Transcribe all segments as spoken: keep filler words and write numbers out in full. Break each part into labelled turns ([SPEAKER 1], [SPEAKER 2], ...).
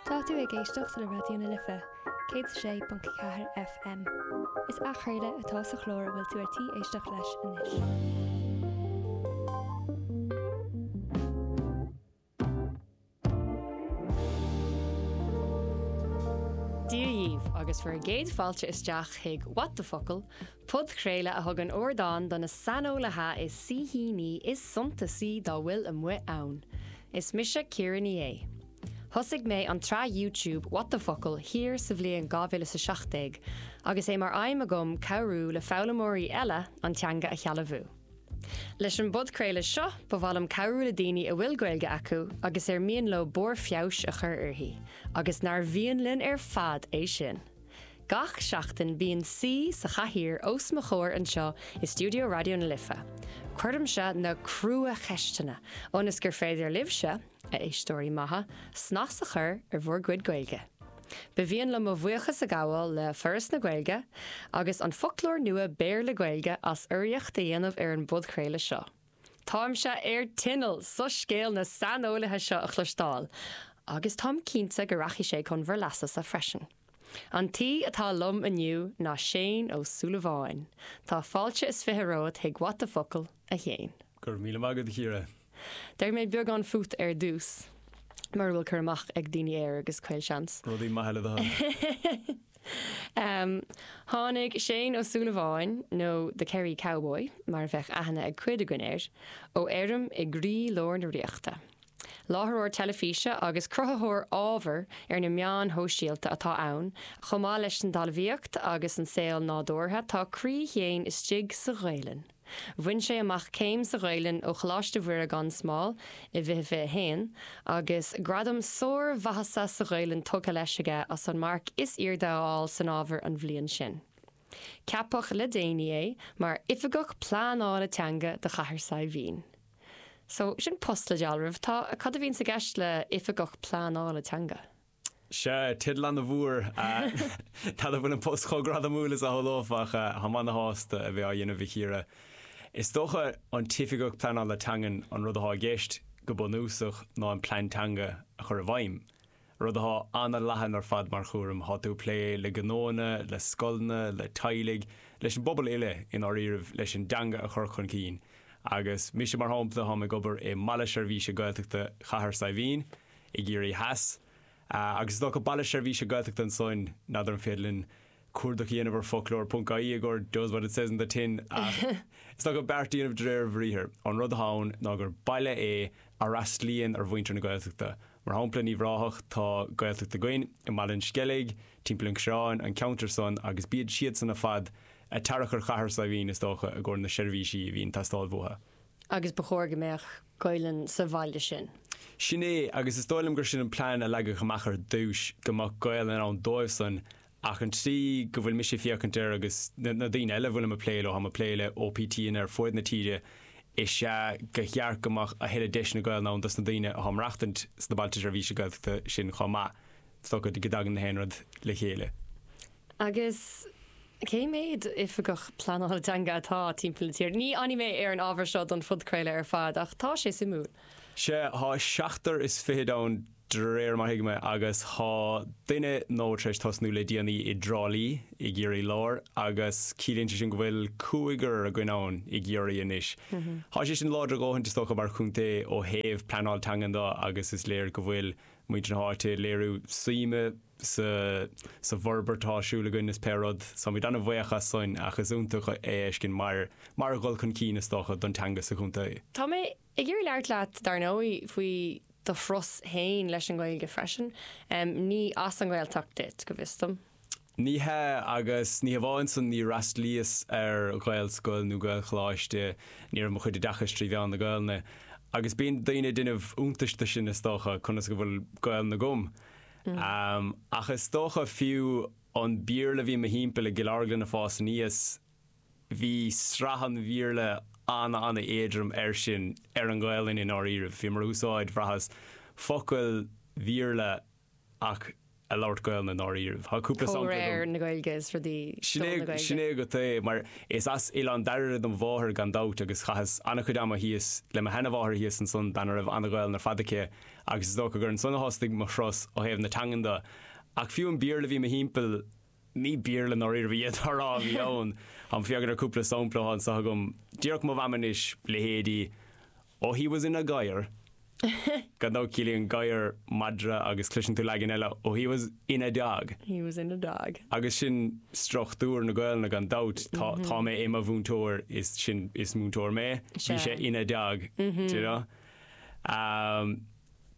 [SPEAKER 1] Tá tú ag éisteacht le Raidió na Life, céad sé ponc ceathair FM. Is athchraoladh atá sa chlár a bhfuil tú ar tí éisteacht leis anois.
[SPEAKER 2] Dia dhaoibh agus bhur gcéad fáilte isteach chuig What the Focal, podchraoladh a thugann ardán do na saineolaithe is saoithíní is suntasaí dá bhfuil amuigh ann. Is mise Ciara Ní É. Thosaigh mé an tsraith YouTube What the Focal thiar sa bhliain dhá mhíle is a seacht déag agus é mar aidhm agam cabhrú le foghlaimeoirí eile an teanga a shealbhú. Leis an bpodchraoladh seo, ba mhaith liom cabhrú le daoine a bhfuil Gaeilge acu agus ar mian leo barr feabhais a chur uirthi, agus nár mhian linn ar fad é sin. Gach seachtain bíonn saoi sa chathaoir os mo chomhair anseo i stiúideo Raidió na Life. Cuirimse na crua-cheisteanna ionas gur féidir libhse, a éisteoirí maithe, snas a chur ar bhur gcuid Gaeilge. Ba mhian liom mo bhuíochas a ghabháil le Foras na Gaeilge agus an foclóir nua Béarla-Gaeilge as urraíocht a dhéanamh ar an bpodchraoladh seo. Táimse ar tinneall soiscéal na saineolaithe seo a chloisteáil, agus táim cinnte go rachaidh sé chun bhur leasa-sa freisin. An t-aoi atá liom inniu ná Shane Ó Súilleabháin. Tá fáilte is fiche romhat chuig What the Focal, a Shéain.
[SPEAKER 3] Go raibh míle maith agat, a Chiara.
[SPEAKER 2] Déarfaidh mé beagán fút ar dtús, mura bhfuil cur amach ag daoine air agus caolseans.
[SPEAKER 3] Rudaí maithe le do thoil.
[SPEAKER 2] Tháinig Shane Ó Súilleabháin, nó The Kerry Cowboy, mar a bheadh aithne ag cuid againn air, ó fheirm i gcroí lár na Ríochta. Láithreoir teilifíse agus cruthaitheoir ábhair ar na meáin shóisialta atá ann, chomh maith leis an dtalmhaíocht agus an saol nádúrtha, tá croí Shéain istigh sa Ghaelainn. Bhain sé amach céim sa Ghaelainn ó Choláiste Mhuire gan Smál i bhfiche fiche a haon agus gradam sármhaitheasa sa Ghaelainn tugtha leis aige as an marc is airde a fháil san ábhar an bhliain sin. Ceapadh le déanaí é mar Oifigeach Pleanála Teanga do Chathair Saidhbhín. So, sin post le dealramh. Tá, cad a bhíonn i gceist le Oifigeach Pleanála Teanga?
[SPEAKER 3] Sea, teideal ana-mhór. N'fheadar an bhfuil an post chomh gradamúil is a shamhlófá ach táim ana-shásta a bheith á dhéanamh a Chiara. Is dócha an tOifigeach Pleanála Teangan an rud atá i gceist go bunúsach ná an plean teanga a chur i bhfeidhm. Rud atá ana-leathan ar fad mar chúram. Tá tú ag plé le gnóanna, le scoileanna, le teaghlaigh, leis an bpobal uile i ndáiríribh leis an dteanga a chur chun cinn. Agus mise mar shampla, táim ag obair i mBaile Seirbhíse Gaeltachta Chathair Saidhbhín i gCiarraí Theas. Agus is dócha Baile Seirbhíse Gaeltachta ansan, n'fheadar an féidir linn cuardach a dhéanamh ar foclóir ponc ie i gcomhair does what it says in the tin ach is dócha beart a dhéanamh de réir a bhriathair. An rud atá ann ná gur baile é a fhreastlaíonn ar mhuintir na Gaeltachta. Mar shampla, in Uíbh Ráthach tá Gaeltacht againn i mBaile an Sceilg, timpeall an Choireáin, an ceantar san agus bíod siadsan ar fad ag tarrac ar Chathair Saidhbhín is dócha i gcomhair na seirbhísí a bhíonn ag teastáil uathu.
[SPEAKER 2] Agus ba chóir go mbeadh Gaelainn sa bhaile sin.
[SPEAKER 3] Sin é, agus is dóigh liom gur sin an plean a leagadh amach ar dtús, go mbeadh Gaelainn ann dóibhsan, ach an tslí go bhfuil mise ag féachaint air agus na daoine eile a bhfuilim ag plé leo, táim ag plé le OPTanna ar fuaid na tíre, is ea gur cheart go mbeadh a thuilleadh deiseanna Gaelainne ann dos na daoine atá ag maireachtaint sna bailte seirbhíse Gaeltachta sin chomh maith. Is dócha go dtagann na haon rud le chéile.
[SPEAKER 2] Agus cé mhéad oifigeach pleanála teanga atá timpeall na tíre? Ní fhanfaidh mé ar an ábhar seo don phodchraoladh ar fad, ach tá sé suimiúil.
[SPEAKER 3] Sea, tá seachtar is fichead ann de réir mar a thuigim é, agus tá duine nua tar éis tosnú le déanaí i dTrá Lí i gCiarraí Láir, agus ciallaíonn sé sin go bhfuil cúigear againn ann i gCiarraí anois. Tá sé sin láidir a dhóthaint is dócha mar chontae ó thaobh pleanáil teangan de agus is léir go bhfuil muintir na háite ag léiriú suime sa sa bhforbairt atá ar siúl againn is pé rud. Táimid an-bhuíoch as san ach is iontach é a fheiscint mar mar dhul chun cinn is dócha don teanga sa chontae.
[SPEAKER 2] Tá mé ag iarraidh labhairt leat dar ndóigh faoi do thuras féin leis an nGaeilge freisin. Ní as an nGaeltacht duit, go bhfios dom.
[SPEAKER 3] Ní hea, agus ní hamháin san, níor fhreastlaíos ar Ghaelscoil nó Gaelcholáiste, ní raibh mo chuid oideachais trí mheán na Gaelainne. Agus bíonn daoine ag déanamh iontais de sin is dócha, conas go bhfuil Gaelainn agam. Ach is dócha, fiú an Béarla a bhí i mo thimpeall i gCill Orglan ag fás aníos, bhí sraith an Bhéarla ana-ana-éadrom air sin, ar an Ghaelainn i ndáiríribh. Bhíomar ag úsáid, bhraitheas, focail Bhéarla ach ag labhairt Gaelainne i ndáiríribh. Tá cúpla sampla agam.
[SPEAKER 2] Comhréir na Gaeilge is rudaí
[SPEAKER 3] Sin
[SPEAKER 2] dul
[SPEAKER 3] é
[SPEAKER 2] na Gaeilge.
[SPEAKER 3] sin é agat é, mar is as Oileán Dairbhre dom mháthair gan dabht agus chaitheas an-chuid ama thíos le mo sheanmháthair thíos ansan, bean a raibh an-Ghaelainn ar fad aici agus is dócha gur ansan a thosaigh mo thuras ó thaobh na teangan de. Ach fiú an Béarla a bhí i mo thimpeall, ní Béarla i ndáiríribh iad á rá a bhí ann. Táim ag féachaint ar cúpla sampla atá anseo agam. Díreach mo mham anois, leithéidí Oh he was in a gadhar. Gan dabht ciallaíonn gadhar madra agus cloiseann tú leagan eile Oh he was in a dog.
[SPEAKER 2] He was in a dog.
[SPEAKER 3] Agus sin struchtúr na Gaelainne gan dabht tá tá mé i mo mhúinteoir is sin is múinteoir mé. Bhí sé ina dog. Do you know? Um,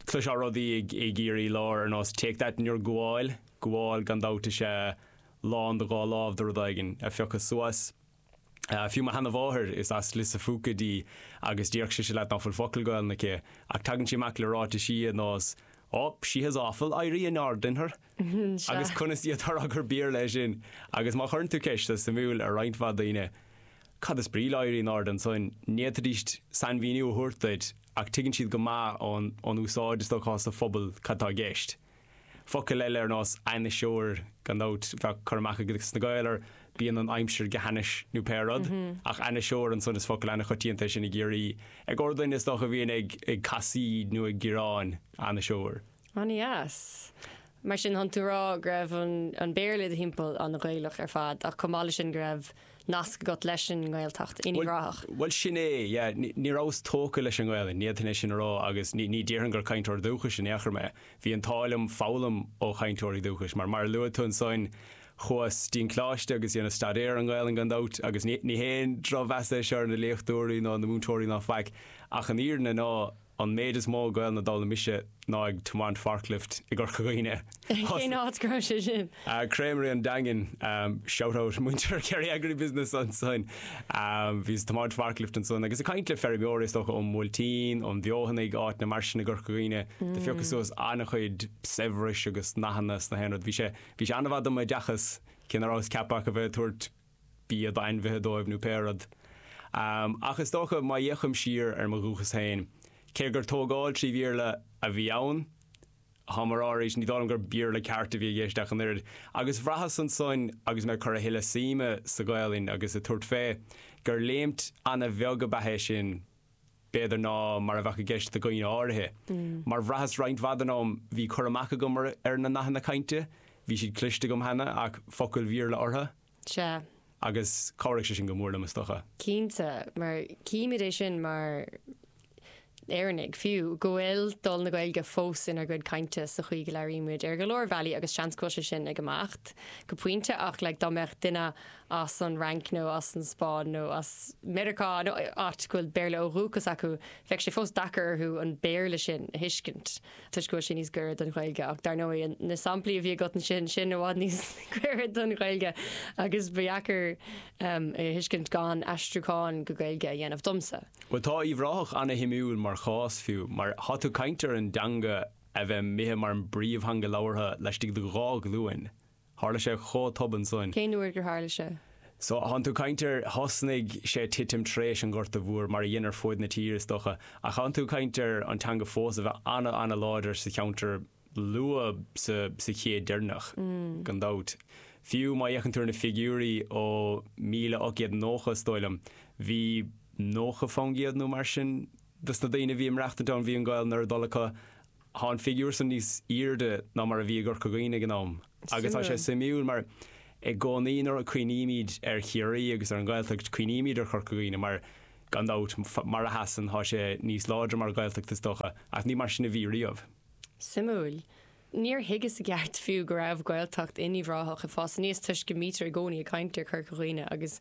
[SPEAKER 3] Cloisfeá rudaí ag ag Ciarraí Láir ar nós take that in your gabháil, gabháil gan dabht is ea lán do dhá lámh de rud éigin a phiocadh suas. Uh, fiú mo sheanmháthair is as Lios a' Phúca di agus déarfadh sise leat nach bhfuil focal Gaelainne aici, ach tagann sí amach le ráitisí ar nós Oh, she has awful éirí in airde in her. Agus conas iad tar gur Béarla é sin, agus má chuireann tú ceist is suimiúil ar roinnt mhaith daoine. Cad is brí le éirí in airde ansan ní fhéadfaidís sainmhíniú a thabhairt duit ach tuigeann siad go maith ón ón úsáid is dócha sa phobal cad tá i gceist. Focal eile ar nós ainniseoir gan dabht bheadh cur amach ag na Gaeil ar bíonn an aimsir go hainnis nó pé rud, ach ainniseoir ansan is focal an-choitianta sin i gCiarraí. Ag ordain is dócha a bhíonn ag ag casaoid nó ag gearán ainniseoir.
[SPEAKER 2] An-deas. Mar sin chun tú rá go raibh an, an Béarla i do thimpeall an-Ghaelach ar fad ach chomh maith leis sin go raibh nasc agat leis an nGaeltacht in Uíbh Ráthach.
[SPEAKER 3] Well sin é, yeah, ní ní rabhas tógtha leis an nGaelainn, ní fhéadfainn é sin a rá agus ní ní déarfainn gur cainteoir dúchais in aon chor mé. Bhí an t-ádh liom foghlaim ó chainteoirí dúchais, mar mar a luaigh tú ansan chuas dtí an coláiste agus dhéanas staidéar an Ghaelainn gan dabht agus ní ní haon drochmheas é seo ar na léachtóirí ná na múinteoirí ná faic ach an fhírinne ná an méid is mó Gaelainne a d'fhoghlaim mise ná ag tiomáint forklift i gCorca Dhuibhne.
[SPEAKER 2] Cén áit go raibh sé sin?
[SPEAKER 3] Uh, Creamery an Daingin um, shout out muintir Kerry Agribusiness ansan. Um, Bhíos ag tiomáint forklift ansan agus ag caint le feirmeoirí is dócha ón Bhuailtín, ón bhFeothanaigh áiteanna mar sin i gCorca Dhuibhne, do phiocas suas an-chuid saibhris agus nathanna sna haon rud. Bhí sé bhí sé an-mhaith dom oideachas cé nach rabhas ceaptha a bheith ag tabhairt bia d'ainmhithe dóibh nó pé rud. Um, ach is dócha má fhéachaim siar ar mo dhúchas féin, cé gur tógáil trí Bhéarla a bhí ann, Tá mar arís ní dóigh liom gur Béarla ceart a bhí i gceist ach an oiread. Agus bhraitheas ansan agus mé ag cur a thuilleadh suime sa Ghaelainn agus ag tabhairt fé gur léimt an-bheag ab ea é sin b'fhéidir ná mar a bheadh i gceist do dhaoine áirithe. Mar bhraitheas roinnt mhaith den am bhí cur amach agam ar, ar na nathanna cainte, bhí siad cliste agam cheana ach focail Bhéarla orthu.
[SPEAKER 2] Sea.
[SPEAKER 3] Agus chabhraigh sé sin go mór liom is dócha.
[SPEAKER 2] Cinnte, mar címid é sin mar Éireannaigh fiú go bhfuil dul na Gaeilge fós inár gcuid cainte sa chaoi go labhraímid ar go leor bealaí agus seans go bhfuil sé sin ag imeacht go pointe ach like, dá mbeadh duine as an Fhrainc nó as an Spáinn nó as Meiriceá nó áit go bhfuil Béarla ó dhúchas acu bheadh sé fós deacair orthu an Béarla sin a thuiscint toisc go bhfuil sé níos gaire don Ghaeilge ach dar ndóigh na samplaí a bhí agat sin sin i bhfad níos gaire don Ghaeilge agus ba dheacair um, a thuiscint gan aistriúchán go Gaeilge a dhéanamh domsa.
[SPEAKER 3] Well tá Uíbh Ráthach an-shuimiúil mar chás fiú, mar tá tú ag caint ar an dteanga a bheith imithe mar an bpríomhtheanga labhartha laistigh de dhá ghlúin. Tharla sé chomh tobann san.
[SPEAKER 2] Cén uair gur tharla sé?
[SPEAKER 3] So tá tú ag caint ar thosnaigh sé titim tar éis an Ghorta Mhór mar a dhein ar fud na tíre is dócha, ach tá tú ag caint ar an teanga fós a bheith an-an-láidir sa cheantar luath sa, sa chéad deireanach mm. gan dabht. Fiú má fhéachann tú ar na figiúirí ó míle ocht gcéad nócha is dóigh liom, bhí nócha faoin gcéad nó mar sin dos na daoine a bhí ag maireachtáil ann bhí an Ghaelainn ar a dtoil acu tá an figiúr san níos airde ná mar a bhí i gCorca Dhuibhne ag an am. Agus tá sé suimiúil mar i gcónaí nuair a chuimhnímid ar Chiarraí agus ar an Ghaeltacht cuimhnímid ar Chorca Dhuibhne mar gan dabht mar a sheasann tá sé níos láidre mar Ghaeltacht is dócha, ach ní mar sin a bhí riamh.
[SPEAKER 2] Suimiúil. Níor thuigeas i gceart fiú go raibh Gaeltacht in Uíbh Ráthach ag fás aníos toisc go mbítear i gcónaí ag caint ar Chorca Dhuibhne agus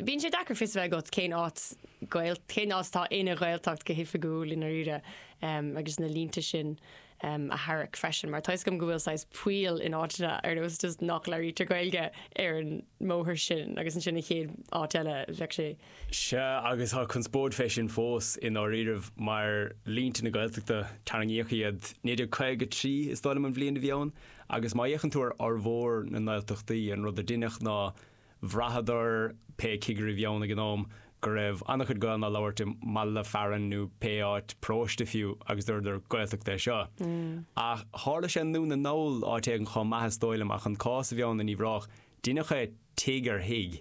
[SPEAKER 2] bíonn sé deacair fios a bheith agat cén áit Gael cén áit atá ina Ghaeltacht go hoifigiúil i ndáiríre um, agus na línte sin um, a tharrac freisin, mar tá a fhios agam go bhfuil saghas poill in áiteanna ar nós just nach labhraítear Gaeilge ar an mbóthar sin agus ansin an chéad áit eile bheadh sé.
[SPEAKER 3] Sea agus tá conspóid fé sin fós i ndáiríribh mar línte na Gaeltachta tarraingíodh iad naoi déag caoga trí is dóigh liom an bhliain a bhí ann, agus má fhéachann tú ar fhormhór na nGaeltachtaí an rud a deineadh ná bhraitheadar pé cigire a bhí ann ag an am go raibh an-chuid Gaelainn á labhairt i mbaile fearainn nó pé áit, paróiste fiú, agus dúradar Gaeltacht é seo. Ach tharla sé i nDún na nGall áit éigin chomh maith is dóigh liom ach an cás a bhí ann in Uíbh Ráthach, deineadh é tigh ar thigh.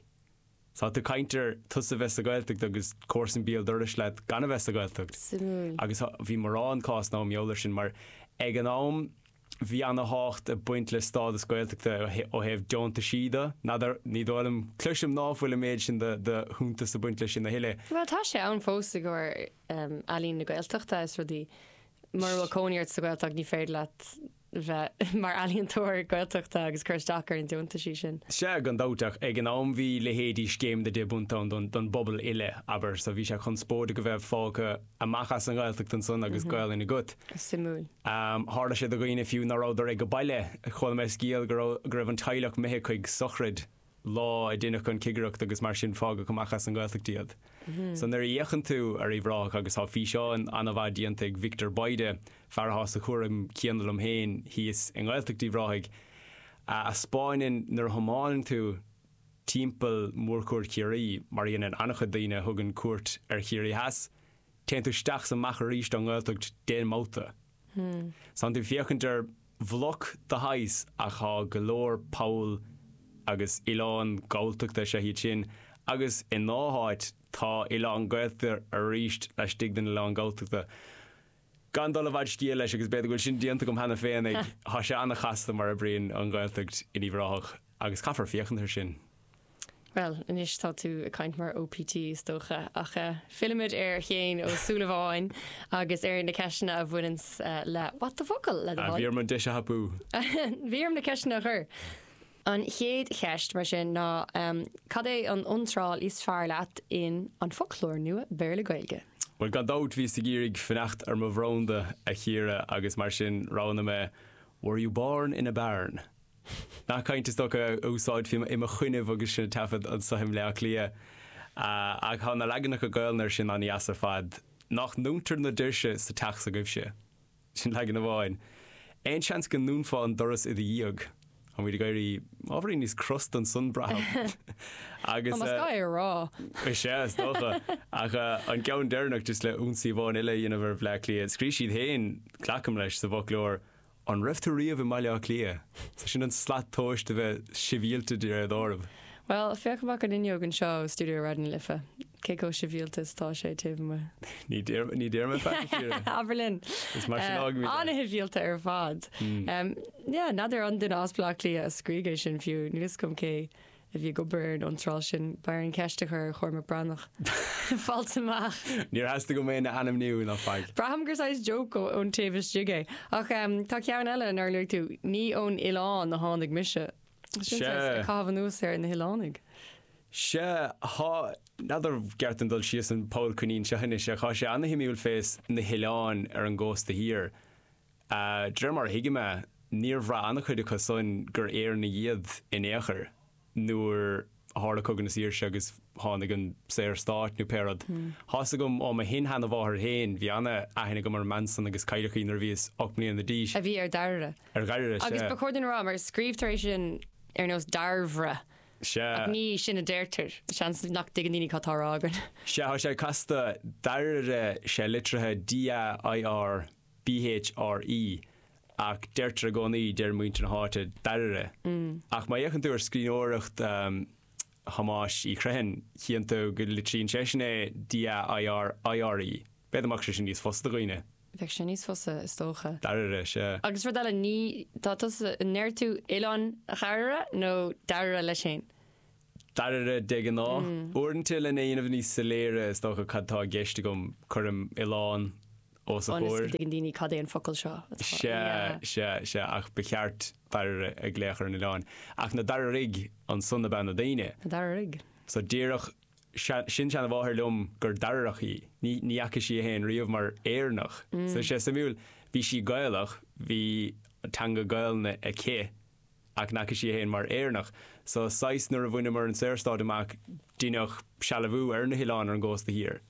[SPEAKER 3] So tá tú ag caint ar tusa bheith sa Ghaeltacht agus comharsan béal dorais leat gan a bheith sa Ghaeltacht.
[SPEAKER 2] Suimiúil.
[SPEAKER 3] Agus bhí mórán cásanna ann mar gheall air sin mar ag an am bhí ana-thábhacht ag baint le stádas Gaeltachta ó thaobh deontaisí de. N'fheadar, ní dóigh liom, cloisim ná fuil an méid sin de de shuntas ag baint leis sin a thuilleadh.
[SPEAKER 2] Bhuel tá sé ann fós i gcomhair ealaín na Gaeltachta is rudaí. Mura bhfuil cónaí ort sa Ghaeltacht ní féidir leat bheith mar ealaíontóir Gaeltachta agus cur isteach ar na deontaisí sin.
[SPEAKER 3] Sea, gan dabht, ach ag an am bhí leithéidí Scéim na Deich bPunt ann don don bpobal uile, abair, so bhí sé conspóideach a bheith fágtha amach as an nGaeltacht ansan agus Gaelainn agat.
[SPEAKER 2] Suimiúil.
[SPEAKER 3] Tharla sé do dhaoine fiú ná rabhadar ag an baile. Chuala mé scéal go raibh go raibh an teaghlach imithe chuig sochraid lá a deineadh an chigireacht agus mar sin fágadh amach as an nGaeltacht iad. So nuair a fhéachann tú ar Uíbh Ráthach agus tá físeán an-mhaith déanta ag Victor Bayda, fear atá sa chúram céanna liom féin thíos i nGaeltacht Uíbh Ráthaigh, a 'spáineann nuair a thiomáineann tú timpeall mhórchuaird Chiarraí, mar a dhéanann an-chuid daoine a thugann cuairt ar Chiarraí Theas, téann tú isteach 's amach arís ón nGaeltacht d'aon mbabhta. So tánn tú ag féachaint ar bhloc de shaghas ach tá go leor poll agus oileáin Galltachta is ea iad sin agus i ndá háit tá oileán Gaeltachta arís laistigh den oileán Galltachta. Gan dul i bhfad scéil leis agus b'fhéidir go bhfuil sin déanta agam cheana féin ag, tá sé an-chasta mar a oibríonn an Ghaeltacht in Uíbh Ráthach agus caithfear féachaint air sin.
[SPEAKER 2] Bhuel, anois tá tú ag caint mar OPT is dócha, ach fillimid ar Shéan Ó Súilleabháin agus ar na ceisteanna a bhaineanns le What the Focal, le do thoil.
[SPEAKER 3] Bhí orm an deis a thapú.
[SPEAKER 2] Bhí orm na ceisteanna a chur. An chéad cheist, mar sin, ná cad é an iontráil is fearr leat in An Foclóir Nua Béarla-Gaeilge?
[SPEAKER 3] Bhuel, gan dabht, bhíos ag iarraidh fanacht ar mo bhranda, a Chiara, agus mar sin roghnaigh mé Were you born in a barn? Nath cainte is dócha a úsáidfí i mo choinnibh agus sinn ag taifead anso i mBleá Cliath. Ach tá na leaganacha Gaelainne air sin an-dheas ar fad. Nach ndúntar na doirse sa teach s'agaibhse? Sin leagan amháin. Aon seans go ndúnfá an doras i do dhiaidh? Tá muid ag éirí ábhairín níos crosta ansan, braithim.
[SPEAKER 2] Agus. Más gá é a rá.
[SPEAKER 3] Is ea, is dócha. Ach an ceann deireanach, just le ionsaí amháin eile a dhéanamh ar Bhleá Cliath, scríobh siad féin, glacaim leis, sa bhfoclóir, An raibh tú riamh i mBaile Átha Cliath? So sin an slat tomhais de bheith sibhialta de réir dealraimh.
[SPEAKER 2] Bhuel, féach amach an fhuinneog anseo ó stiúideo Raidió na Life. Cé chomh sibhialta is atá sé taobh amuigh?
[SPEAKER 3] Ní deir, ní deir mé faic, a Chiara.
[SPEAKER 2] Abair linn.
[SPEAKER 3] Is mar sin a fhágfaimid é.
[SPEAKER 2] An-shibhialta ar fad. Yeah, n'fheadar an duine as Baile Átha Cliath a scrígh é sin fiú, níl fhios agam cé a bhí ag obair ar an iontráil sin. B'fhearr an cheist a chur ar Chormac Breathnach. Fáilte amach.
[SPEAKER 3] Níor theastaigh uaim é a ainmniú ná faic.
[SPEAKER 2] Braithim gur saghas joke ón taobh istigh é. Ach tá ceann eile nár luaigh tú, ní ón oileán a tháinig mise. Sin saghas ag caitheamh anuas ar na hoileánaigh.
[SPEAKER 3] Sea, thá, n'fheadar an gceart dom dul síos an poll coinín seo anois, ach thá sé ana-shuimiúil fés na hoileáin ar an gcósta thiar. De réir mar a thuigim é, níor bhraith an-chuid acu san gur Éireannaigh iad in aon chor nuair a tharla Cogadh na Saoirse agus tháinig an Saorstát nó pé rud. Tá's agam ó mo shin-sheana-mháthair féin, bhí ana-aithne agam ar an mbean san agus cailleadh í nuair a bhíos ocht mbliana d'aois.
[SPEAKER 2] A bhí ar Dairbhre.
[SPEAKER 3] Ar Dhairbhre, sea.
[SPEAKER 2] Agus ba chóir dúinn a rá, mar scríobhtar é sin ar nós Dairbhre.
[SPEAKER 3] Sea.
[SPEAKER 2] Ach ní sin a deirtear. Seans nach dtuigeann daoine cad tá á rá againn.
[SPEAKER 3] Sea, tá sé casta. Dairbhre, sé litrithe D-A-I-R B-H-R-E, ach deirtear i gcónaí, deir muintir na háite, Dairire. Ach má fhéachann tú ar scríbhneoireacht Thomáis Uí Chriomhthain, chíonn tú go litríonn seisean é D-A-I-R-I-R-E. B'fhéidir go mbeadh sé sin níos fusa do dhaoine.
[SPEAKER 2] Bheadh sé níos fusa, is dócha.
[SPEAKER 3] Dairire, sea.
[SPEAKER 2] Agus rud eile, ní, tá tusa, an ndeir tú Oileán Dairbhre nó Dairbhre leis féin?
[SPEAKER 3] Dairbhre de ghnáth. Uaireanta lena dhéanamh níos soiléire is dócha cad tá i gceist agam, cuirim oileán os a
[SPEAKER 2] Ionas go
[SPEAKER 3] chomhair.
[SPEAKER 2] dtuigeann daoine cad é an focal seo atá.
[SPEAKER 3] Sea, sea, sea, ach ba cheart Dairbhre a ghlaoch ar an oileán. Ach na Dairírigh ansan ab ea na daoine.
[SPEAKER 2] Na Dairírigh.
[SPEAKER 3] So déarfadh sin-seanamháthair liom gur Dairireach í. Ní, ní fhaca sí í féin riamh mar Éireannach. So sé suimiúil, bhí sí Gaelach, bhí teanga Gaelainne aici, ach n'fhaca sí í féin mar Éireannach. So saghas nuair a bhaineamar an Saorstát amach deineadh sealbhú ar na hoileáin ar an gcósta thiar.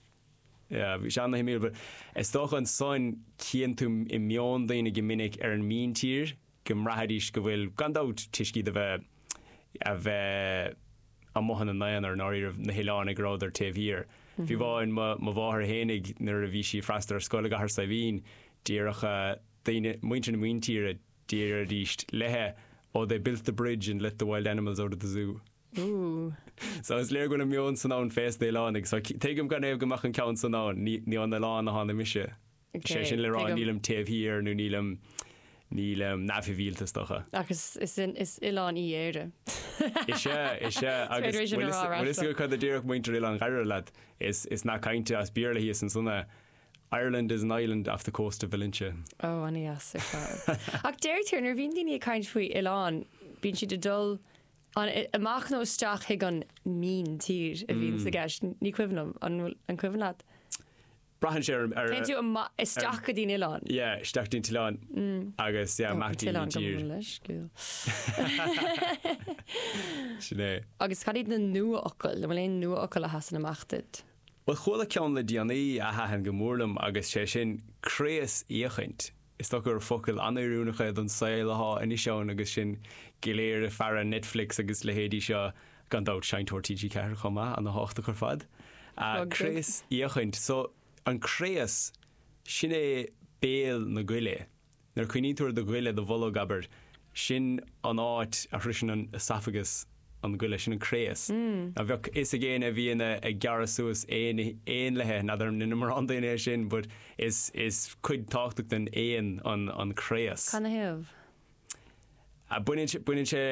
[SPEAKER 3] Yeah, bhí sé ana-shuimiúil but is dócha ansan cíonn tú i meon daoine go minic ar an míntír go mbraithfidís go bhfuil, gan dabht, toisc iad a bheith, a bheith amuigh ina n-aonar, i ndáiríribh, na hoileánaigh a rabhadar taobh thiar. Fiú amháin mo mháthair fhéinig nuair a bhí sí ag freastal ar scoil i gCathair Saidhbhín, déarfadh daoine, muintir na míntíre, déarfaidís léithe, Oh, they built the bridge and let the wild animals out of the zoo.
[SPEAKER 2] Ooh.
[SPEAKER 3] So is léir go bhfuil an meon san ann fés na hoileánaigh. So tuigim gan é go mbeadh an ceann san ann, ní ón oileán a tháinig mise. Sé sin le rá nílim taobh thiar nó nílim nílim neamhshibhialta is dócha.
[SPEAKER 2] Ach is is is oileán í Éire.
[SPEAKER 3] Is ea, is ea, agus bhfuil fhios agat cad a déarfadh muintir Oileán Dhoire leat? Is is nath cainte as Béarla thíos ansan é, Ireland is an island off the coast of Valentia.
[SPEAKER 2] Ó, an-deas ar fad. Ach deirtear nuair a bhíonn daoine ag caint faoi oileán, bíonn siad ag dul an amach nó isteach chuig an míntír a bhíonn sa gceist. Ní cuimhin liom, an bhfuil an cuimhin leat?
[SPEAKER 3] Braitheann sé ar ar
[SPEAKER 2] Téann tú amach isteach go dtí an oileán.
[SPEAKER 3] Yeah, isteach dtí an t-oileán agus yeah, amach dtí an
[SPEAKER 2] tír.
[SPEAKER 3] Sin é.
[SPEAKER 2] Agus cad iad na nuafhocail? An bhfuil aon nuafhocal a sheasann amach duit?
[SPEAKER 3] Bhuel, chuala ceann le déanaí a thaitin go mór liom agus sé sin craosfhéachaint. Is dócha gur focal an-oiriúnach é don saol atá anois ann agus sinn go léir ag faire Netflix agus leithéidí seo, gan dabht Seinnteoir T G ceathair chomh maith, ana-thábhachtach ar fad. Craosfhéachaint. So, an craos, sin é béal na goile. Nuair a cuimhníonn tú ar do ghoile, do bholg, abair, sin an áit a shroiseann an esophagus an goile, sin an craos. Ná bheadh fhios ag éinne a bhíonn ag gearradh suas éanlaithe, n'fheadar an ndeineann mórán daoine é sin, but is is cuid tábhachtach den éan an an craos.
[SPEAKER 2] Cad 'na thaobh?
[SPEAKER 3] Baineann sé baineann sé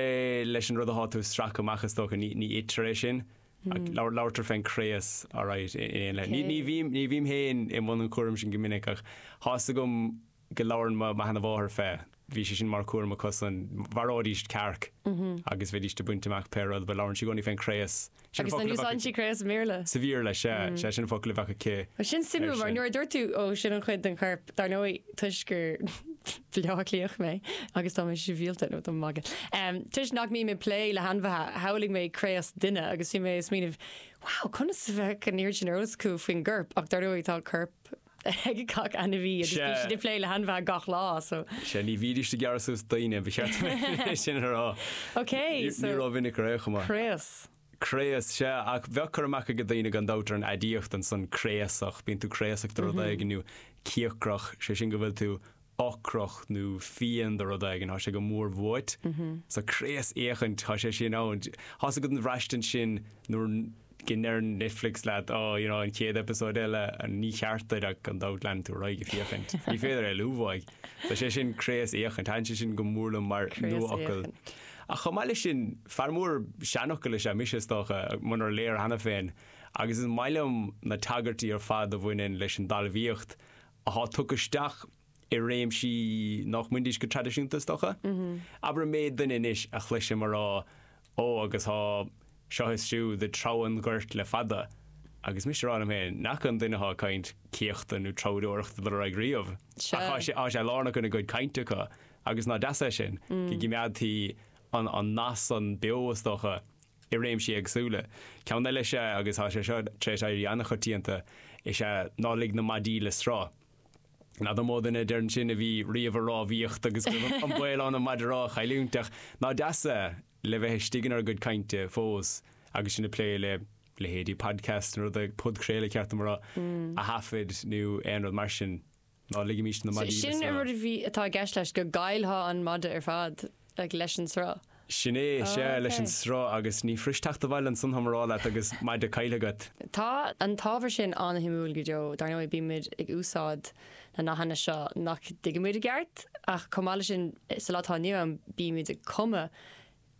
[SPEAKER 3] leis an rud atá tú ag stracadh amach is dócha, ní ní itear é sin. Labhartar fén craos alright in éanlaithe. Ní ní bhím ní bhím féin i mbun an chúraim sin go minic ach thá's agam go labhrann mo sheana-mháthair fé. Bhí sé sin mar chúram acusan. Mharóidís cearc agus bheidís ag baint amach pé rud, but labhrann sí i gcónaí fén craos.
[SPEAKER 2] Sin Agus an úsáideann sí craos i mBéarla?
[SPEAKER 3] Sa Bhéarla, sea. Sea, sin an focal a bheadh aici
[SPEAKER 2] Bhuel, sin suimiúil mar nuair a dúirt tú, ó, sin an chuid den chorp, dar ndóigh, toisc gur Baile Átha Cliathach mé agus tá mé sibhialta, nó tá mé ag magadh. Toisc nach mbím ag plé le hainmhithe, shamhlaigh mé craos duine agus bhí mé ag smaoineamh, wow, conas a bheadh an oiread sin ar eolas acu faoin gcorp? Ach dar ndóigh, tá corp ag gach ainmhí agus bíonn siad ag plé le hainmhithe gach lá, so.
[SPEAKER 3] Sea, ní bhídís ag gearradh suas daoine, ba cheart dom é sin a rá.
[SPEAKER 2] Ok, so.
[SPEAKER 3] Ní rómhinic ar aon chuma.
[SPEAKER 2] Craos.
[SPEAKER 3] Craos, sea, ach bheadh cur amach ag daoine gan dabht ar an aidiacht ansan, craosach, bíonn tú craosach de rud éigin nó cíocrach, sé sin go bhfuil tú ocrach nó fiain de rud éigin, tá sé go mór uait. So craosfhéachaint, tá sé sin ann. Tá's agat an bhraistint sin nuair go ndeireann Netflix leat, oh, you know, an chéad eipeasóid eile, ní cheart duit ach gan dabht leanann tú ar aghaidh ag féachaint. Ní féidir éalú uaidh. So sé sin craosfhéachaint. Thaitin sé sin go mór liom mar nuafhocal. Ach chomh maith leis sin, fear mór seanfhocal is ea mise, is dócha, munar léir cheana féin, agus is maith liom na tagairtí ar fad a bhaineann leis an dtalmhaíocht atá tugtha isteach i réimsí nach mbainfidís go traidisiúnta, is dócha. Abair an méid duine anois a chloisim a rá, Ó, agus tá seo is siúd ag treabhadh an ghoirt le fada. Agus mise a rá liom féin, nach an duine atá ag caint céachta nó treabhdóireachta dul ar aghaidh riamh. Ach tá sé, tá sé lárnach ina gcuid cainte acu. Agus nach deas é sin, go gcimeádtaí an, an nath san beo, is dócha, i réimsí éagsúla. Ceann eile is ea, agus tá sé seo tar éis éirí an-choitianta, is ea ná lig na maidí le sruth. N'fheadar an mó duine a deireann sin a bhí riamh ag rámhaíocht agus go raibh an baol ann an maide rámha a chailliúint, ach ná deas é le bheith istigh inár gcuid cainte fós agus sinn ag plé le leithéidí podcast nó rud, podchraoladh ceart dom a rá, a thaifead nó aon rud mar sin. Ná ligimís na maidí le
[SPEAKER 2] Sin an
[SPEAKER 3] sruth.
[SPEAKER 2] rud a bhí, atá i gceist leis, go gcaillfeá an maide ar fad like, leis an sruth.
[SPEAKER 3] Sin é, sea,
[SPEAKER 2] Oh,
[SPEAKER 3] leis an
[SPEAKER 2] ok.
[SPEAKER 3] sruth agus ní fuirist teacht abhaile ansan táim a rá leat agus maide caillte agat.
[SPEAKER 2] Tá an t-ábhar sin an-shuimiúil go deo. Dar ndóigh, bímid ag úsáid na nathanna seo nach dtuigimid i gceart, ach chomh maith leis sin, sa lá atá inniu ann, bímid ag cumadh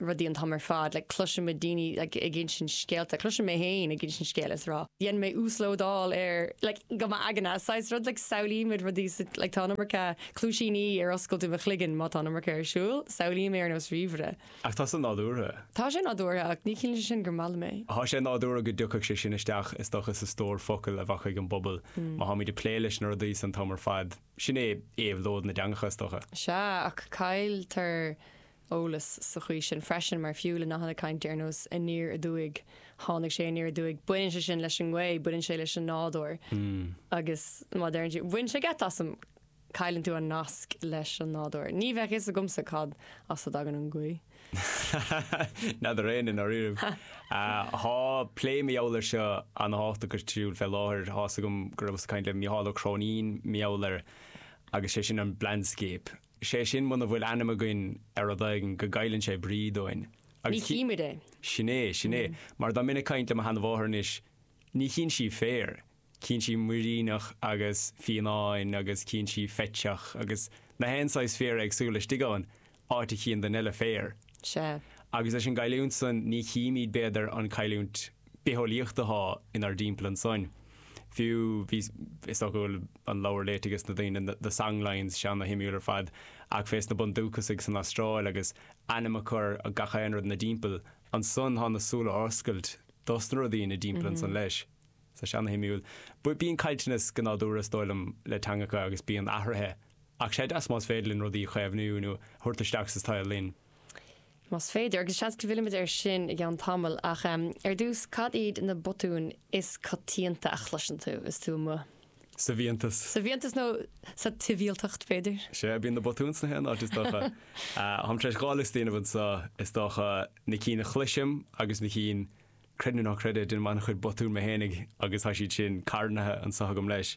[SPEAKER 2] rudaí an t-am ar fad, like cloisimid daoine like ag insint scéalta, cloisim mé féin ag insint scéal is rá, dhein mé uaslódáil ar like go m'aigne, saghas rud like samhlaímid rudaí sa like tá an iomarca cluaisíní ar oscailt i mo chloigeann má tá an iomarca ar siúl, samhlaím é ar nós ríomhaire.
[SPEAKER 3] Ach tá san nádúrtha.
[SPEAKER 2] Tá sé nádúrtha ach ní chiallaíonn sé sin gur maith liom é.
[SPEAKER 3] Tá sé nádúrtha go dtiocfadh sé sin isteach is dócha sa stór focal a bheadh ag an bpobal má táimid ag plé leis na rudaí san t-am ar fad. Sin é éabhlóid na dteangacha is dócha.
[SPEAKER 2] Sea, ach cailltear eolas sa chaoi sin freisin mar fiú le nathanna cainte ar nós aniar aduaidh, tháinig sé aniar aduaidh, baineann sé sin leis an ngaoth, baineann sé leis an nádúr agus má deireann tú, bhain sé geit asam Cailleann tú an nasc leis an nádúr. Ní bheadh fhios agamsa cad as a dtagann an ghaoth.
[SPEAKER 3] N'fheadar éinne i ndáiríre. Tá plé mar gheall air seo an-tábhachtach ar siúl fé láthair tá 'fhios agam go raibh caint le Mícheál Ó Cróinín mar gheall air agus sé sin an blandscape. Sé sin muna bhfuil ainm againn ar rud éigin go gcailleann sé brí dúinn.
[SPEAKER 2] Ní chímid é.
[SPEAKER 3] Sin é, sin é. Mar dá mbeinn ag caint le mo sheanmháthair anois, ní chíonn sí féar. Cíonn sí muiríneach agus fianáin agus cíonn sí feiteach agus na haon saghas féar éagsúil istigh ann, áit a chíonn duine eile féar.
[SPEAKER 2] Sea.
[SPEAKER 3] Agus leis an gcailliúint san ní chímid b'fhéidir an cailliúint bitheolaíochta atá inár dtimpeall ansan. Fiú bhí is dócha go bhfuil an leabhar léite ages na daoine The Songlines sé ana-shuimiúil ar fad ach fés na bundúchasaigh san Astráil agus ainm a chur ar gach aon rud ina dtimpeall ansan tá na súile á oscailt dos na rudaí ina dtimpeall ansan leis. Tá sé ana-shuimiúil. Bíonn caillteanas go nádúrtha is dóigh liom le teangacha agus bíonn athruithe ach sé deas más féidir linn rudaí a chaomhnú nó a thabhairt isteach sa tsaol linn.
[SPEAKER 2] Más féidir, agus seans go bhfillfimid air sin i gceann tamaill, ach ar dtús, cad iad na botúin is coitianta a chloiseann tú is tú amuigh?
[SPEAKER 3] Sa bhfiántas.
[SPEAKER 2] Sa bhfiántas nó sa tsibhialtacht, b'fhéidir?
[SPEAKER 3] Sea, bíonn na botúin sna haon áit is dócha. Táim tar éis dhá liosta a dhéanamh anseo, is dócha, na cinn a chloisim agus na cinn, creid nó ná creid é, déanaim an-chuid botún mé fhéinig agus tá siad sin carnaithe anseo agam leis.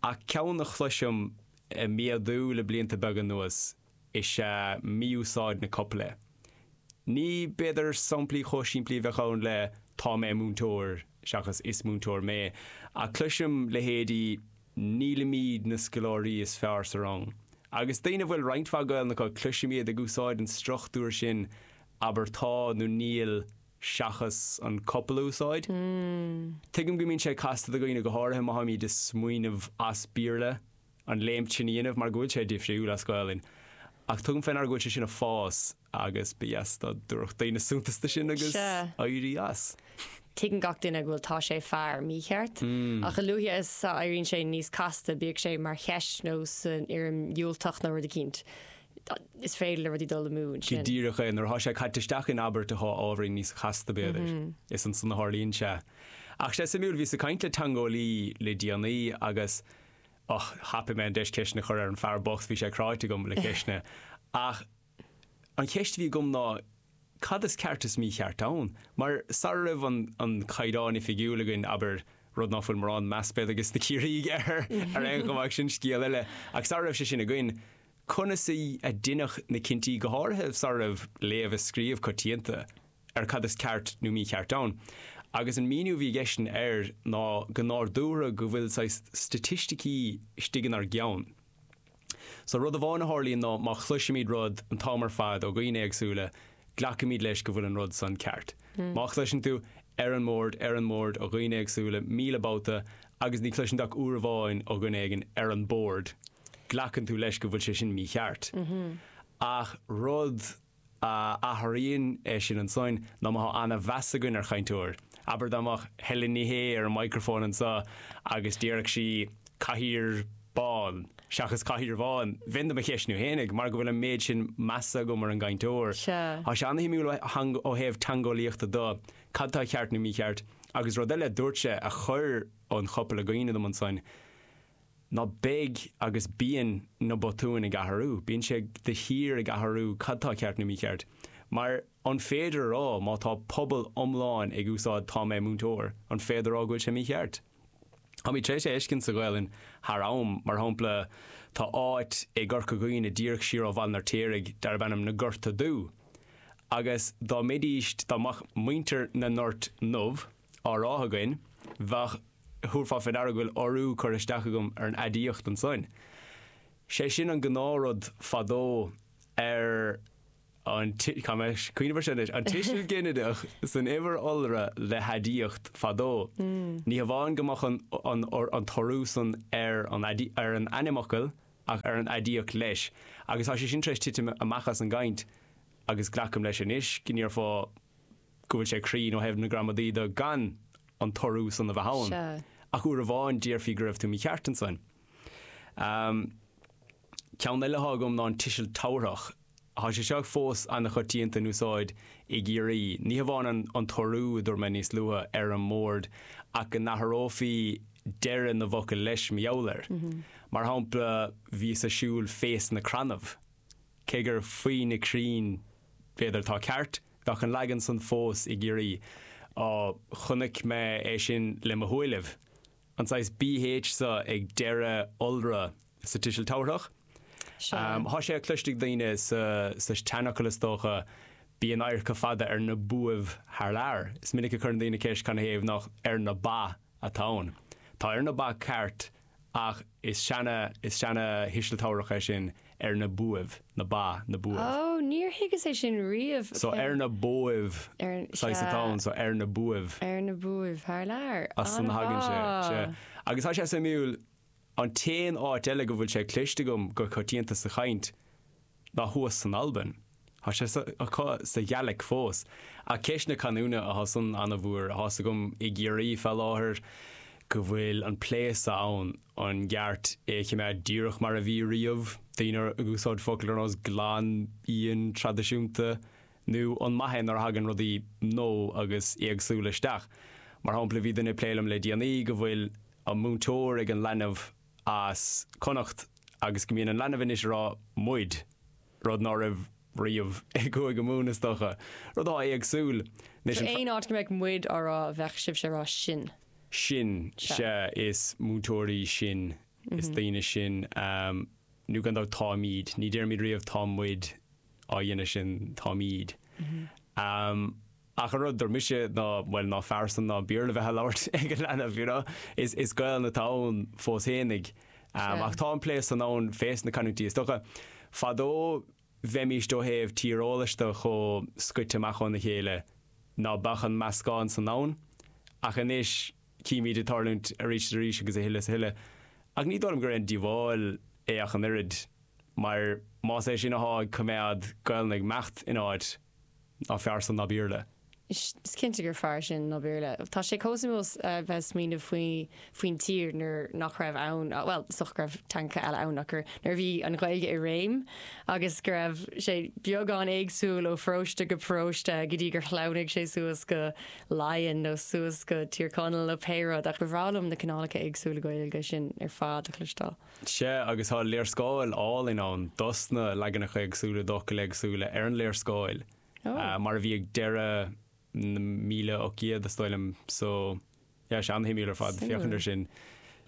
[SPEAKER 3] Ach ceann a chloisim ag méadú le blianta beaga anuas is ea mí-úsáid na copaile. Ní b'fhéidir samplaí chomh simplí a bheadh ann le 'tá mé múinteoir' seachas 'is múinteoir mé', ach cloisim leithéidí 'nílimid na scoláirí is fearr sa rang'. Agus daoine a bhfuil roinnt mhaith Gaelainne acu, cloisim iad ag úsáid an struchtúr sin, abair 'tá' nó 'níl' seachas an copail a úsáid. Tuigim go mbíonn sé casta do dhaoine, go háirithe má tháimid ag smaoineamh as Béarla, an léimt sin a dhéanamh mar go bhfuil sé difriúil as Gaelainn. Ach tugaim fé ndeara go bhfuil sé sin ag fás agus ba dheas dá dtabharfadh daoine suntas do sin agus éirí as.
[SPEAKER 2] Tuigeann gach duine go bhfuil tá sé fear mícheart, ach a luaithe is a éiríonn sé níos casta, bíodh sé mar cheist nó san fhoirm dhiúltach nó rud eicínt, is féidir le rudaí dul amú ansin.
[SPEAKER 3] Go díreach é, nuair atá sé caite isteach in abairt atá ábhairín níos casta b'fhéidir, is ansan a tharlaíonn sé. Ach sé suimiúil, bhíos ag caint le teangeolaí le déanaí agus Och, thapaigh mé an deis ceisteanna a chur ar an fear bocht, bhí sé cráite agam le ceisteanna. Ach an cheist a bhí agam ná, cad is ceart is mícheart ann? Mar sara raibh an an caighdeán oifigiúil againn, abair, rud ná fuil mórán meas b'fhéidir ages na Ciarraígh air ar aon chuma ach sin scéal eile, ach sara raibh sé sin againn, conas a deineadh na cinntí, go háirithe sara raibh léamh is scríobh coitianta? ar cad is ceart nó mícheart ann. Agus an míniú a bhí aigesean air ná go nádúrtha go bhfuil saghas staitisticí istigh inár gceann. So rud amháin a tharlaíonn ná má chloisimid rud an t-am ar fad ó dhaoine éagsúla, glacaimid leis go bhfuil an rud san ceart. Má chloiseann tú ar an mbord, ar an mbord ó dhaoine éagsúla míle babhta agus ní chloiseann tú ach uair amháin ó dhuine éigin ar an bord, glacann tú leis go bhfuil sé sin mícheart. Ach rud. a athraíonn é sin ansoin ná má thá ana-mheas againn ar chainteoir. Abair dá mbeadh Helen Ní Shé ar an micreafón anso agus déarfadh sí cathaoir bán seachas cathaoir bhán, bheinn do mo cheistniú fhéinig mar go bhfuil an méid sin measa agam ar an gcainteoir.
[SPEAKER 2] Sea.
[SPEAKER 3] Tá sé ana-shuimiúil ó thaobh teangeolaíochta de, cad tá ceart nó mícheart. Agus rud eile a dúirt sé a chuir an chopail i gcuimhne dom ansoin, ná beidh agus bíonn na botúin ag athrú, bíonn sé de shíor ag athrú cad tá ceart nó mícheart. Mar an féidir a rá má tá pobal iomlán ag úsáid tá mé múinteoir, an féidir a rá go bhfuil sé mícheart? Táimid tar éis é a fheiscint sa Ghaelainn thar am, mar shampla tá áit i gCorca Dhuibhne díreach siar ó Bhaile an Fheirtéaraigh darb ainm Na Gorta Dubh agus dá mbeidís, dá mbeadh muintir na nGort nDubh á rá againn, bheadh Thabharfá fé ndeara go bhfuil urú curtha isteach agam ar an aidiacht ansoin. Sé sin an gnáthrud fadó ar an, caithfidh mé cuimhneamh air sin anois, an tuiseal ginideach san uimhir iolra le haidiacht fadó. Ní hamháin go mbeadh an, an, an t-urú san ar an, ar an ainmfhocal ach ar an aidiacht leis. Agus tá sé sin tar éis titim amach as an gcaint agus glacaim leis anois go ndéarfá, go bhfuil sé cruinn ó thaobh na gramadaí de gan an t-urú san a bheith ann.
[SPEAKER 2] Sea.
[SPEAKER 3] Ach uair amháin déarfaí go raibh tú mícheart ansan. Ceann eile atá agam ná an tuiseal tabharthach. Tá sé seo fós ana-choitianta in úsáid i gCiarraí. Ní hamháin an t-urú a dúirt mé níos luaithe ar an mbord ach go n-athrófaí deireadh na bhfocal leis mar gheall air. Mar shampla, bhíos a' siúl fés na crannaibh. Cé gur faoi na crainn b'fhéidir atá ceart, bheadh an leagan san fós i gCiarraí. Á, chonaic mé é sin le mo shúilibh. An saghas B H so ag deireadh iolra sa tuiseal tabharthach.
[SPEAKER 2] Sea.
[SPEAKER 3] Thá sé cloiste ag daoine sa sa tseanfhocal is dócha, bíonn adharca fada ar na buaibh thar lear. Is minic a chuireann daoine ceist canathaobh nach ar na ba atá ann. Tá ar na ba ceart ach is seana is seana thuiseal tabharthach é sin ar na buaibh, na ba, na buaibh.
[SPEAKER 2] Ó, níor thuigeas é sin riamh.
[SPEAKER 3] So ar na bóibh
[SPEAKER 2] Ar,
[SPEAKER 3] saghas atá
[SPEAKER 2] sea.
[SPEAKER 3] ann, so ar na buaibh.
[SPEAKER 2] Ar na buaibh thar lear.
[SPEAKER 3] As san a thagann sé,
[SPEAKER 2] An-mhaith.
[SPEAKER 3] sea. Agus tá sé suimiúil, an t-aon áit eile go bhfuil sé cloiste agam go coitianta sa chaint ná thuas san Albain. Tá sé sa, acu sa Ghàidhlig fós. Ach ceist na canúna atá san an-mhór, tá's agam i gCiarraí fé láthair go bhfuil an plé so ann an gceart é a choimeád díreach mar a bhí riamh, daoine ag úsáid focail ar nós glan, íon, traidisiúnta, nó an maith é nuair a thagann rudaí nua agus éagsúla isteach. Mar shampla, bhí duine ag plé liom le déanaí go bhfuil an múinteoir ag an leanbh as Connacht agus go mbíonn an leanbh anois ag rá muid, rud ná raibh riamh i gCúige Mumhan is dócha. Rud atá éagsúil. Anois
[SPEAKER 2] So
[SPEAKER 3] an
[SPEAKER 2] aon áit go mbeadh muid á rá bheadh sibhse ag rá sin.
[SPEAKER 3] Sin,
[SPEAKER 2] Sea.
[SPEAKER 3] sea, is múinteoirí sinn, is daoine sinn, um, nó gan dabht táimid, ní deirimid riamh tá muid á dhéanamh sin, táimid. Um, ach an rud dúirt mise ná, bhuel, ná fearr san ná Béarla bheith á labhairt ag an leanbh, you know? Is, is Gaelainn atá ann fós fhéinig. Um,
[SPEAKER 2] Sea.
[SPEAKER 3] ach tá an plé san ann fés na canúintí. Is dócha, fadó bheimíst ó thaobh tíreolais de chomh scoite amach óna chéile ná beadh an meascán san ann, ach anois címid ag tarlúint arís is arís agus a thuilleadh is a thuilleadh. Ach ní dóigh liom gur aon díobháil é ach an oiread, mar más é sin atá ag coimeád Gaelainn ag imeacht in áit, ná fearr san ná Béarla.
[SPEAKER 2] Is cinnte gur fearr sin ná Béarla. Tá sé chomh suimiúil a bheith ag smaoineamh faoi faoin tír nuair nach raibh ann, bhuel, is dócha go raibh teangacha eile ann ach gur nuair a bhí an Ghaeilge i réim agus go raibh sé beagán éagsúil ó pharóiste go paróiste go dtí gur shleamhnaigh sé suas go Laighin nó suas go Tír Chonaill nó pé rud ach ba bhreá liom na cineálacha éagsúla Gaeilge sin ar fad a chloisteáil.
[SPEAKER 3] Sea, agus tá léarscáil álainn ann dos na leaganacha éagsúla d'fhocail éagsúla ar an léarscáil,
[SPEAKER 2] Oh.
[SPEAKER 3] mar a bhí ag deireadh na míle ocht gcéad is dóigh liom so yeah, sé an-shuimiúil ar fad féachaint air sin.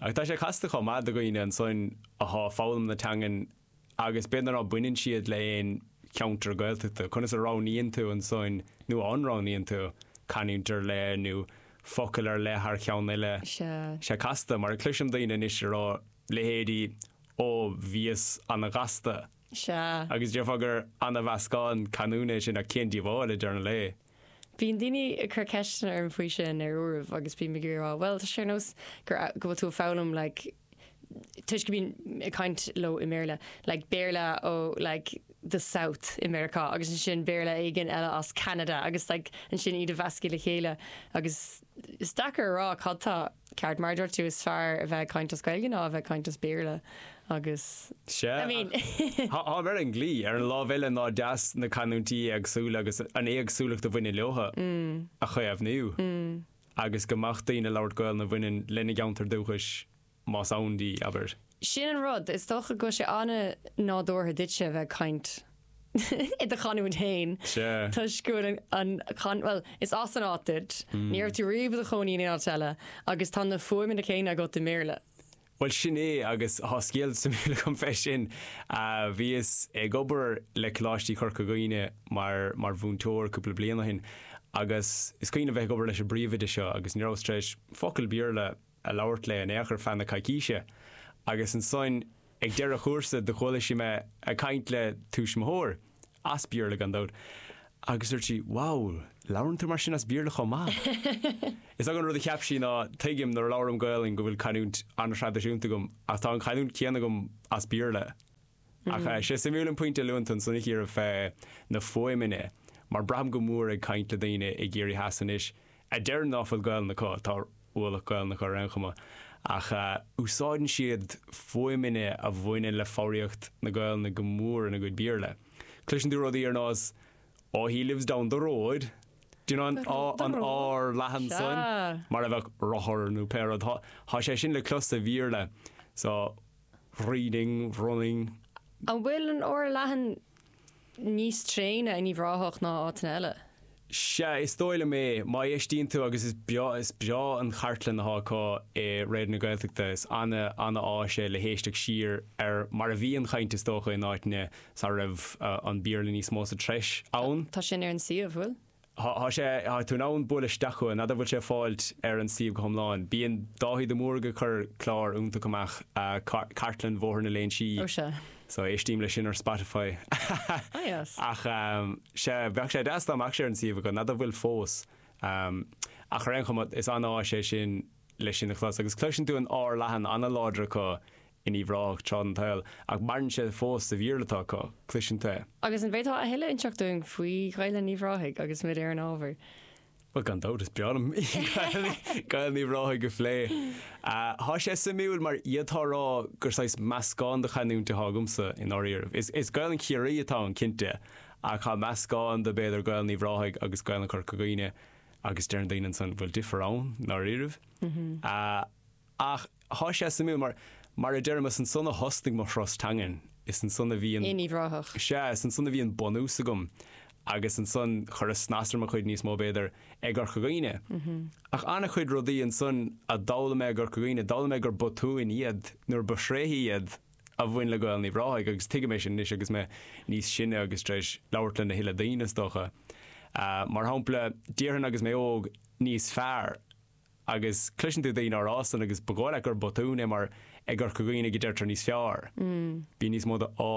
[SPEAKER 3] Ach tá sé casta chomh maith do dhaoine ansan atá ag foghlaim na teangan agus b'fhéidir ná baineann siad le aon cheantar Gaeltachta. Conas a roghnaíonn tú ansan nó an roghnaíonn tú canúint ar leith nó focal ar leith thar cheann eile.
[SPEAKER 2] Sea.
[SPEAKER 3] Sé casta mar cloisim daoine anois ag rá leithéidí ó bhíos ana-ghasta.
[SPEAKER 2] Sea.
[SPEAKER 3] Agus déarfá gur ana-mheascán canúna é sin ach cén díobháil i deireadh an lae.
[SPEAKER 2] Bíonn daoine ag cur ceisteanna orm faoi sin ar uairibh agus bím ag rá, well tá sé ar nós gur go bhfuil tú ag foghlaim like, toisc go bím ag caint leo i mBéarla, like Béarla ó like the South i Meiriceá agus ansin Béarla éigin eile as Canada agus like ansin iad a mheascadh le chéile agus is deacair a rá cad tá ceart mar dúirt tú is fearr a bheith ag caint as Gaeilge ná a bheith ag caint as Béarla agus
[SPEAKER 3] Sea,
[SPEAKER 2] I mean
[SPEAKER 3] Tá ar an gclí ar an lámh eile ná deas na canúintí éagsúla agus an éagsúlacht a bhaineann leotha a chaomhnú agus go mbeadh daoine ag labhairt Gaelainn a bhaineann lena gceantar dúchais más ann di, abair.
[SPEAKER 2] Sin an rud, is dócha go bhfuil sé an-nádúrtha duitse a bheith ag caint i do chanúint féin.
[SPEAKER 3] Sea.
[SPEAKER 2] Toisc go bhfuil an, an, well, is as an áit duit, ní raibh tú riamh i do chónaí in aon áit eile, agus tá na fuaimeanna céanna agat i mBéarla.
[SPEAKER 3] Well sin é agus tá scéal suimiúil agam fé sin. Uh, bhíos ag obair le Coláiste Chorca Dhuibhne mar mar mhúinteoir cúpla bliain ó shin agus is cuimhin bheith ag obair leis an bpríomhoide seo agus ní rabhas tar éis focal Béarla a labhairt léi in aon chor feadh na coicíse. Agus ansan ag deireadh chúrsa do chuala sí mé ag caint le tuismitheoir as Béarla gan dabht. Agus dúirt sí, wow, labhrann tú mar sin as Béarla chomh maith. Is an rud a cheap sí ná tuigim nuair a labhraím Gaelainn go bhfuil canúint an-traidisiúnta agam ach tá an chanúint chéanna agam as Béarla. Ach mm. sé suimiúil an pointe a luann tú ansan a Chiara fé na fuaimeanna, mar braithim go mór ag caint le daoine i gCiarraí Theas anois a deir ná fuil Gaelainn acu tá ualach Gaelainn acu ar aon chuma. Ach uh, úsáideann siad fuaimeanna a bhaineann le foghraíocht na Gaelainne go mór ina gcuid Béarla. Cloiseann tú rudaí ar nós oh he lives down the road. Do you know an an R leathan san? Mar a bheadh rothar nó pé rud. Tá sé sin le clos sa Bhéarla. So reading, running.
[SPEAKER 2] An bhfuil an R leathan níos tréine in Uíbh Ráthach ná áiteanna eile?
[SPEAKER 3] Sea, is dóigh liom é. Má éistíonn tú agus is breá is breá an chartlann atá acu i Raidió na Gaeltachta, is ana ana-áis é le héisteacht siar ar mar a bhí an chaint is dócha in áiteanna sara raibh an Béarla níos mó sa treis ann.
[SPEAKER 2] Tá sin ar an suíomh, bhfuil?
[SPEAKER 3] Tá sé, tá tú in ann bualadh isteach chuige, n'fheadar bhfuil sé ag fáilt ar an suíomh go hiomlán. Bíonn Dáithí de Mórdha ag cur clár iontach amach, Cartlann Bhóthar na Léinsí.
[SPEAKER 2] Ó sea.
[SPEAKER 3] So éistím leis sin ar Spotify.
[SPEAKER 2] Ah yes.
[SPEAKER 3] Ach sea, bheadh sé deas dá mbeadh sé ar an suíomh acu, n'fheadar bhfuil fós. Ach ar aon chuma, is an-áis é sin leis sin a chlos. Agus cloiseann tú an R leathan an-láidir acu in Uíbh Ráthach tráth den tsaol, ach maireann sé fós sa Bhéarla atá acu, cloiseann tú é.
[SPEAKER 2] Agus an bhféadfá a thuilleadh a inseacht dúinn faoi Ghaelainn Uíbh Ráthaigh agus muid ar an ábhar?
[SPEAKER 3] Bhuel, gan dabht, is breá liom Gaelainn Uíbh Ráthaigh a phlé. Tá sé suimiúil mar d'fhéadfá a rá gur saghas meascán de chanúint atá agamsa i ndáiríribh. Is Gaelainn Chiarraí atá ann, cinnte, ach tá meascán de b'fhéidir Gaelainn Uíbh Ráthaigh agus Gaelainn Chorca Dhuibhne agus deireann daoine ansan, bhfuil difear ann i ndáiríribh? Ach thá sé suimiúil mar, mar a deirim, is ansan a thosnaigh mo thuras teangan, is ansan a bhí an.
[SPEAKER 2] In Uíbh Ráthach.
[SPEAKER 3] Sea, is ansan a bhí an bunús agam agus ansan chuireas snas ar mo chuid níos mó b'fhéidir i gCorca Dhuibhne. Ach an-chuid rudaí ansan a d'fhoghlaim mé i gCorca Dhuibhne, d'fhoghlaim mé gur botúin iad nuair ba thréithe iad a bhain le Gaelainn Uíbh Ráthaigh agus tuigim é sin anois agus mé níos sine agus tar éis labhairt lena thuilleadh daoine is dócha. Mar shampla, déarfainn agus mé óg, níos fearr. Agus cloiseann tú daoine á rá san agus ba dhóigh leat gur botún é mar i gCorca Dhuibhne go deirtear níos fearr. Bíonn níos mó de á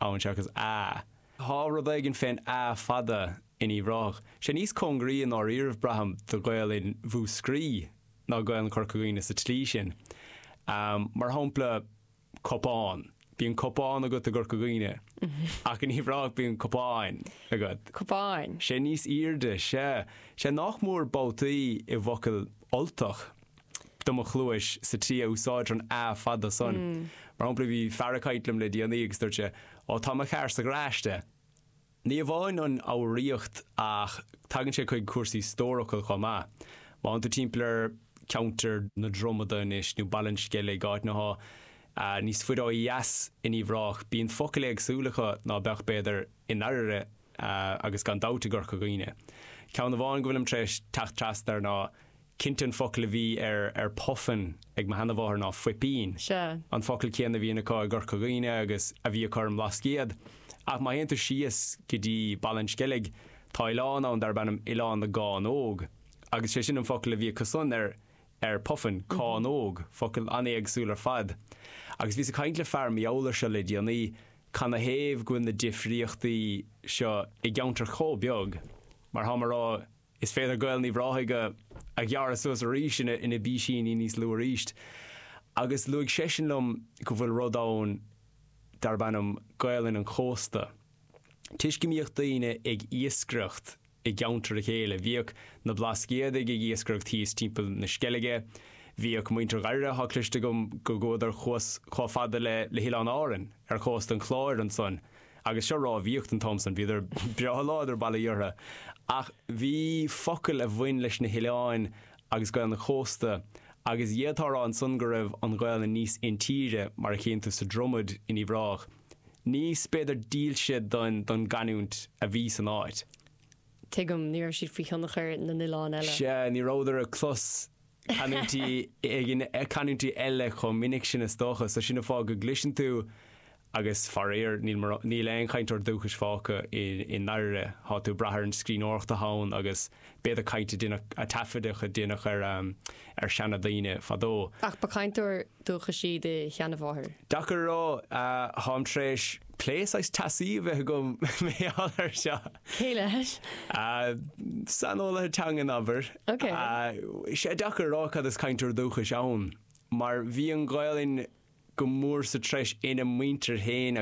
[SPEAKER 3] ann seachas a. Tá rud éigin fén a fada in Uíbh Ráthach. Sé níos cóngaraí i ndáiríribh braithim do Ghaelainn Mhúscraí ná Gaelainn Chorca Dhuibhne sa tslí sin. Mar shampla cupán. Bíonn cupán agat i gCorca Dhuibhne ach in Uíbh Ráthach bíonn cupáin agat.
[SPEAKER 2] Cupáin.
[SPEAKER 3] Sé níos airde, sea. Sé nach mór babhtaí i bhfocal Ultach do mo chluais sa tslí a úsáidtear an a fada san. Mar shampla bhí fear ag caint liom le déanaí agus dúirt sé, Ó tá mo charr sa gharáiste. Ní amháin an fhoghraíocht ach tagann sé chuig cúrsaí stórfhocal chomh maith. Má théann tú timpeall ar cheantar na Dromada anois nó Baile an Sceilg, áiteanna atá níos faide ó dheas in Uíbh Ráthach, bíonn focail éagsúla acu ná beadh b'fhéidir i nDoire agus gan dabht i gCorca Dhuibhne. Ceann amháin go bhfuilim tar éis teacht trasna air ná Cinnte an focal a bhí ar ar puffin ag mo sheanamháthair ná fuipín.
[SPEAKER 2] Sea.
[SPEAKER 3] An focal céanna a bhíonn acu i gCorca Dhuibhne agus a bhí acu ar an mBlascaod. Ach má théann tú síos go dtí Baile an Sceilg, tá oileán ann darb ainm Oileán na gCánóg. Agus sé sin an focal a bhí acusan ar ar puffin, cánóg, focal an-éagsúil ar fad. Agus bhíos ag caint le fear mar gheall air seo le déanaí, canathaobh go bhfuil na difríochtaí seo i gceantar chomh beag? Mar tháim a rá, Is féidir Gaelainn Uíbh Ráthaigh a ghearradh suas arís ina ina bpísíní níos lú arís. Agus luaigh seisean liom go bhfuil rud ann darb ainm Gaelainn an Chósta. Toisc go mbíodh daoine ag iascaireacht i gceantar a chéile, bhíodh na Blascaodaigh ag iascaireacht thíos timpeall na Sceilge, bhíodh muintir Dhoire, tá cloiste agam go gcuadar thuas chomh fada le le hOileáin Árann ar chósta an Chláir ansan. Agus seo rámhaíocht an t-am san, bhíodar breá láidir bail ó Dhia orthu. Ach bhí focail a bhain leis na hoileáin agus Gaelainn an chósta, agus d'fhéadfá a rá ansan go raibh an Ghaelainn níos intíre, mar a chíonn tú sa Dromad in Uíbh Ráthach, níos, b'fhéidir, dílse don don gcanúint a bhí san áit.
[SPEAKER 2] Tuigim, ní raibh siad faoi thionchar na n-oileán eile.
[SPEAKER 3] Sea, ní rabhadar ag clos canúintí canúintí eile chomh minic sin is dócha, so sin an fáth go gcloiseann tú Agus faraor, níl níl aon chainteoir dúchais fágtha i i nDoire. Thá tú ag brath ar an scríbhneoireacht atá ann agus b'fhéidir caint a deineadh, a taifeadadh a deineadh ar ar seana-daoine fadó.
[SPEAKER 2] Ach ba chainteoir dúchais í do sheanamháthair?
[SPEAKER 3] Deacair a rá. Táim tar éis plé saghas teasaí a bheith agam mar gheall air seo.
[SPEAKER 2] Cé leis?
[SPEAKER 3] Saineolaithe teangan, abair.
[SPEAKER 2] Ok.
[SPEAKER 3] Sé deacair a rá cad is cainteoir dúchais ann, mar bhí an Ghaelainn go mór sa treis ina muintir féin.